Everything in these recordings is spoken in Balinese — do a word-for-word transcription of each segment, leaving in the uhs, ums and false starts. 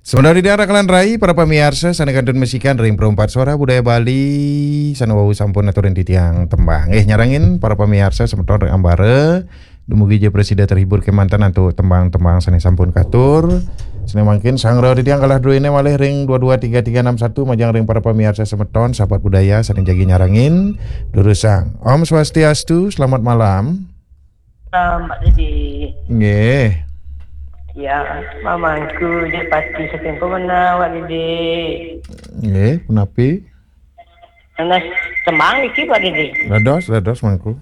Sementara di daerah Kalan Rai, para pamiarsa sané kantun masikan ring Perumpat Suara Budaya Bali, sané wau sampun aturin titiang tembang. Eh, nyarengin para pamiarsa semeton ring ambara, dumugi ja prasida terhibur kémanten antuk tembang-tembang sané sampun katur. Sané mangkin sangra titiang kalah druéné malih ring dua dua tiga tiga enam satu, majeng ring para pamiarsa semeton, sahabat budaya sané jagi nyarengin. Durusang. Om Swastiastu, selamat malam. Salam, Pak Didi. Nggih. Ya, mamangku, Dek Pati saking Pemenang, Pak Didi. Nggih, punapi? Nanas tembang niki, Pak Didi. Dados, dados, mangku.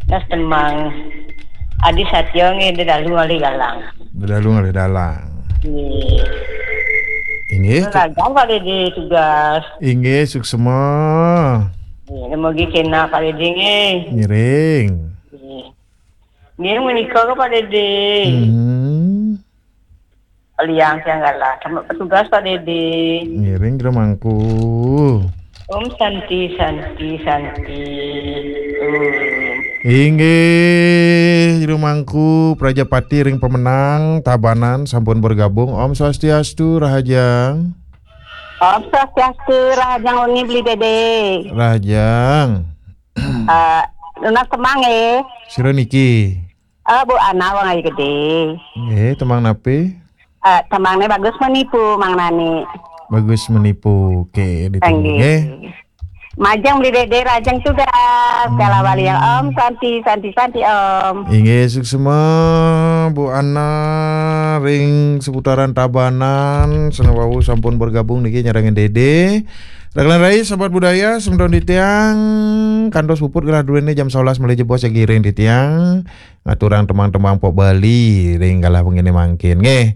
Nanas tembang Adi Satya nggih, Dedalu Ngalih Dalang. Dedalu Ngalih Dalang. Nggih. Inggih. Ragang, Pak Didi, tugas. Inggih, suksma. Nggih, dumugi kénak, Pak Didi, nggih. Ngiring. Nggih. Nggih, menika ke, Pak Didi. Hmm. Liang tiang galah. Sama petugas, Pak Didi. Ngiring, Jero Mangku. Om Santi, Santi, Santi. Om. Inggih, Jero Mangku, Prajapati ring Pemenang, Tabanan, sampun bergabung. Om Swastiastu, Rahajang. Om Swastiastu, Rahajang Wengi Beli Dede. Rahajang. Eh, nunas tembang, eh. Sira niki? Eh, Bu Ana, Wong Ayu Gedé. Nggih, tembang napi? Eh, tembangné Bagus Menipu, Mang Nani. Bagus Menipu. Oké, ditunggu, nggih. Nggih. Majeng Beli Dede, rahajeng tugas. Kala bali ya, Om. Santi, Santi, Santi, Om. Inggih, suksma, Bu Ana, ring seputaran Tabanan, sané wau sampun bergabung niki nyarengin Dede. Rahajeng Rai, sahabat budaya, semeton titiang, kantos puput galah druéné jam sebelas malih jebos jagi ring titiang. Ngaturang tembang-tembang pop Bali ring galah wenginé mangkin, nggih.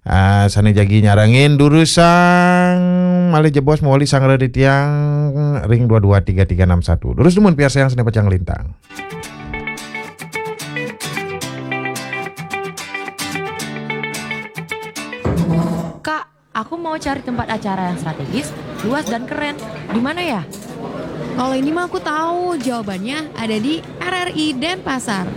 Ah, sané jagi nyarengin durusang malih jebos mawali sangra titiang ring dua dua tiga tiga enam satu. Durus dumun piarsayang sané pacang lintang. Kak, aku mau cari tempat acara yang strategis, luas dan keren. Di mana ya? Kalau ini mah aku tahu, jawabannya ada di R R I Denpasar.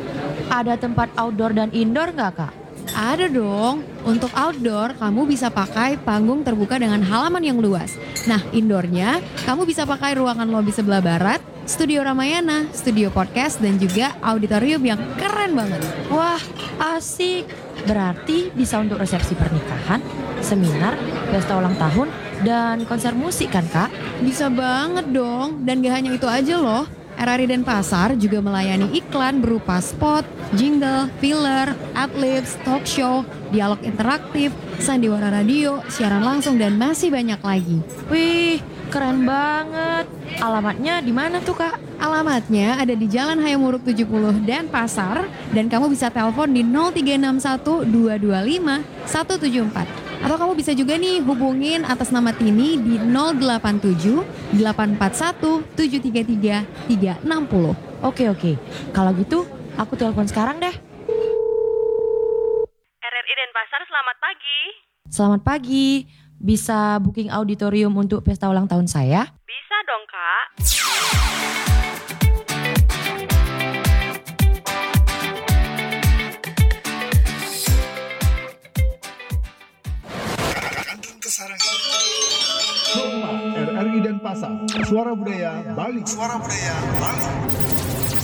Ada tempat outdoor dan indoor nggak, Kak? Ada dong. Untuk outdoor, kamu bisa pakai panggung terbuka dengan halaman yang luas. Nah, indoornya, kamu bisa pakai ruangan lobi sebelah barat, studio Ramayana, studio podcast, dan juga auditorium yang keren banget. Wah, asik. Berarti bisa untuk resepsi pernikahan, seminar, pesta ulang tahun, dan konser musik kan, Kak? Bisa banget dong. Dan gak hanya itu aja loh. R R I Denpasar juga melayani iklan berupa spot, jingle, filler, adlibs, talk show, dialog interaktif, sandiwara radio, siaran langsung, dan masih banyak lagi. Wih, keren banget. Alamatnya di mana tuh, Kak? Alamatnya ada di Jalan Hayam Wuruk tujuh puluh Denpasar, dan kamu bisa telepon di nol tiga enam satu dua dua lima satu tujuh empat. Atau kamu bisa juga nih hubungin atas nama Tini di nol delapan tujuh delapan empat satu tujuh tiga tiga tiga enam nol. Oke, oke. Kalau gitu, aku telepon sekarang deh. R R I Denpasar, selamat pagi. Selamat pagi. Bisa booking auditorium untuk pesta ulang tahun saya? Bisa dong, Kak. Kantun kasarengin. Suksma, R R I Denpasar, Suara Budaya Bali. Suara Budaya Bali.